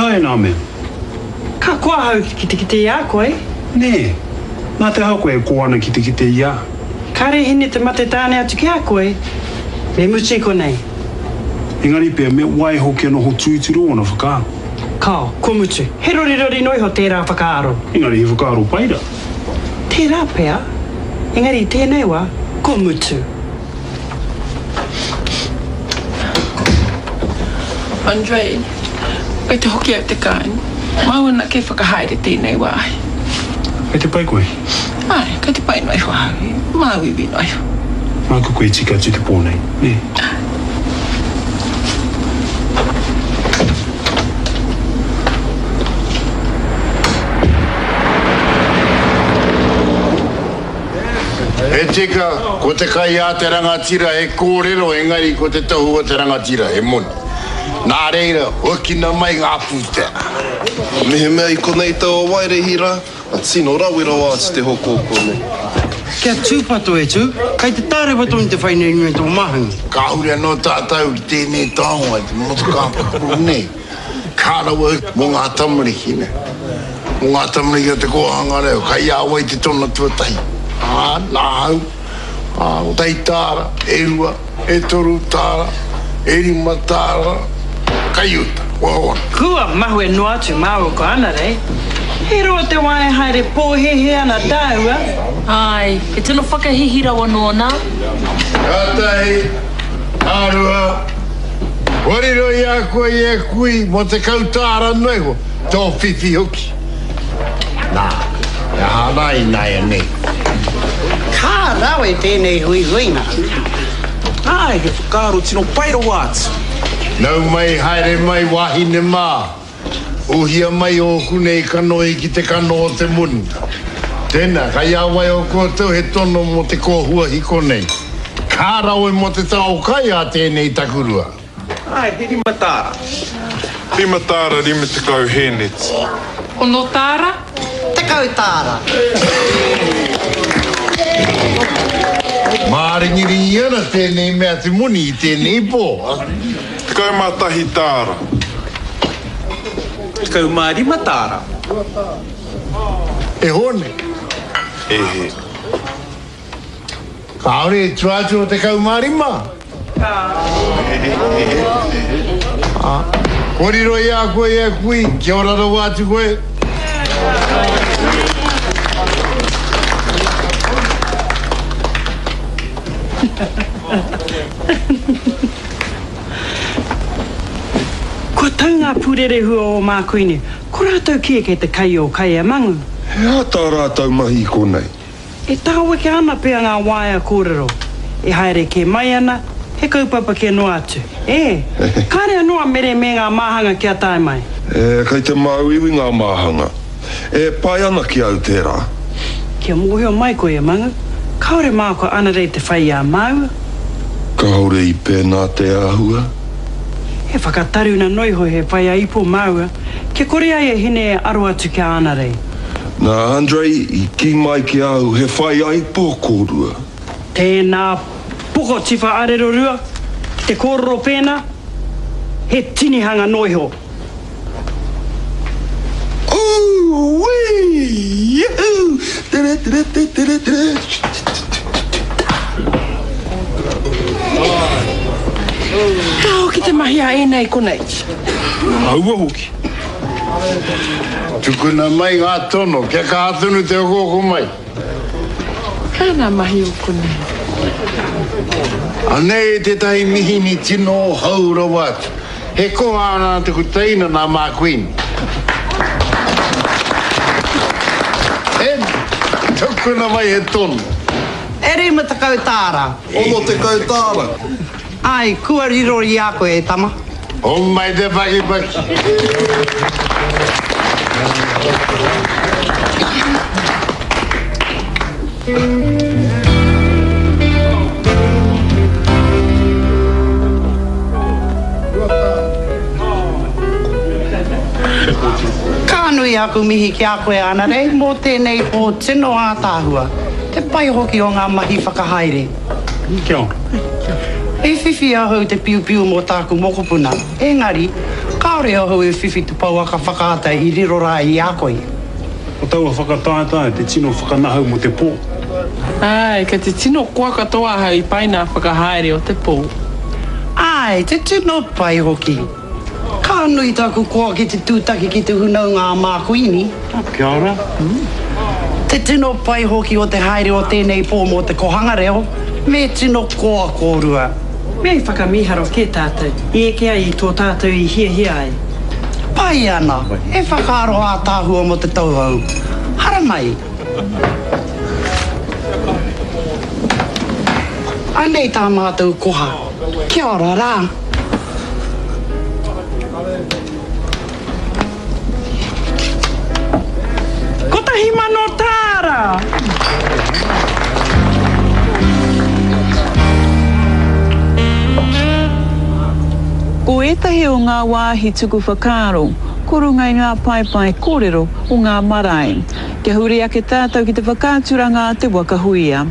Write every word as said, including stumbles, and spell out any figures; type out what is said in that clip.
aha e nā mea? Ka koa ahau ki te kite i a koe. Nē, nā te aha koe e koa ana ki te kite i a? Kāre hine te mate tāne atu ki a koe, me mutu i konei. Engari pea me waiho kia noho tūturu ōna whakaaro. Kāo, kua mutu. He rorirori noa iho tērā whakaaro. Engari he whakaaro pai rā. Tērā pea, engari i tēnei wā, kua mutu. Andre, kei te hoki au te kāinga. Māu anake e whakahaere tēnei wāhi. Kei te pai koe? Āe, kei te pai noa iho ahau, māuiui noa iho. Māku koe e tika atu te pō nei, nē? Āe. He tika, ko te kai a te rangatira he kōrero engari ko te tohu o te rangatira he moni. Nā reira, huakina mai ngā pūtea. Mehemea i konei taua waerehi rā, ka tino rawe rawa atu te hoko o konei. Kia tūpato e Tū, kei te tārewa tonu te whai nei i runga i tō māhunga. Kāore anō tātou i tēnei taonga i te motokā pupuru nei. Ka rawe mō ngā tamariki, nē. Mō ngā tamariki o te kōhanga reo, kai a wai te tono tuatahi? Ā, nāhau, ā, kotahi tāra, e rua, e toru tāra, e rima tāra, kai uta, kua ora. Kua mahue noa atu māua ko Anarei. He roa te wā e haere pōhēhē ana tāua. Āe, he tino whakahīhī rawa nōna. Ka tahi, ka rua, kua riro i a koe e kui mō tekau tāra noa iho, tō whiwhi hoki. Nā, he aha rā ināianei? Ka rawe tēnei huihuinga. Āe, he whakaaro tino pai rawa atu. Nau mai, haere mai, wāhine mā. Uhia mai ōku nei kanohi ki te kano o te moni. Tēnā, kai a wai o koutou he tono mō te kōhua hiko nei. Ka rawe mō te tao kai a tēnei takurua. Āe, he rima tāra. Rima tāra rima tekau hēneti. Ono tāra. Tekau tāra. Māringiringi ana tēnei mea te moni i tēnei pō. Tekau mā tahi tāra. Tekau mā rima tāra. E Hōne. E he. Kāore e tua atu o tekau mā rima. Kua riro i a koe e kui, kia ora rawa atu koe. Kua tau ngā pūrerehua o Mākuini, ko rātou kē kei te kai o Kai a Mangu. He aha tā rātou mahi i konei? E tāweke ana pea ngā waea kōrero. E haere kē mai ana, he kaupapa kē noa atu. E, kāre anō a Mere me ngā māhanga kia tae mai. E, kei te māuiui ngā māhanga. E pai ana ki au tērā. Kia mōhio mai koe e Mangu, kāore māua ko Anarei te whai i a māua. Kāore i pēnā te āhua. He whakataruna noa iho he whai a ipo māua, kia kore ai a Hine e aro atu ki a Anarei. Nā Andrei i kī mai ki a au he whai aipo kōrua. Tēnā poko tiwha arero rua, ki te kōrero pēnā, he tinihanga noa iho. Ooh-wee! Yoo-hoo! Tere-tere-tere-tere-tere! Ka hoki te mahi a ēnei konei. Aua hoki. Tukuna mai ngā tono, kia kaha tonu te okooko mai. Ka nā mahi o konei. Anei tētahi mihini tino hou rawa atu. He koha ana taku teina nā Marqueen. E, tukuna mai he tono. E rima tekau tāra. Ono tekau tāra. Ai, kua riro i a koe, e tama. Homai te pakipaki. Ka nui aku mihi ki a koe, Anarei, mō tēnei pō tino ātaahua, te pai hoki o ngā mahi whakahaere. Kia ora. I whiwhi ahau te piupiu mō tāku mokopuna, engari, Kāore ahau e whiwhi te pouaka whakaata i riro rā i a koe. Ko taua whakataetae te tino whakanahau mō te pō. Āe, kei te tino koa katoa ahau i pai nā whakahaere o te pō. Āe, te tino pai hoki. Ka nui taku koa ki te tūtaki ki te hunaunga a Mākuini. Kia ora. Te tino pai hoki o te haere o tēnei pō mō te kohanga reo, me tino koa kōrua. Me i whakamīharo kē tātou, i eke ai i tō tātou i hiahia ai. Pai ana, e whakaaro ātaahua mō te tauhou. Haramai. Anei tā mātou koha. Kia ora rā. Kotahi mano tāra! Ko ētahi o ngā wāhi tuku whakaaro, ko runga i ngā paepae kōrero o ngā marae. Kia huri ake tātou ki te whakaaturanga a Te Waka Huia.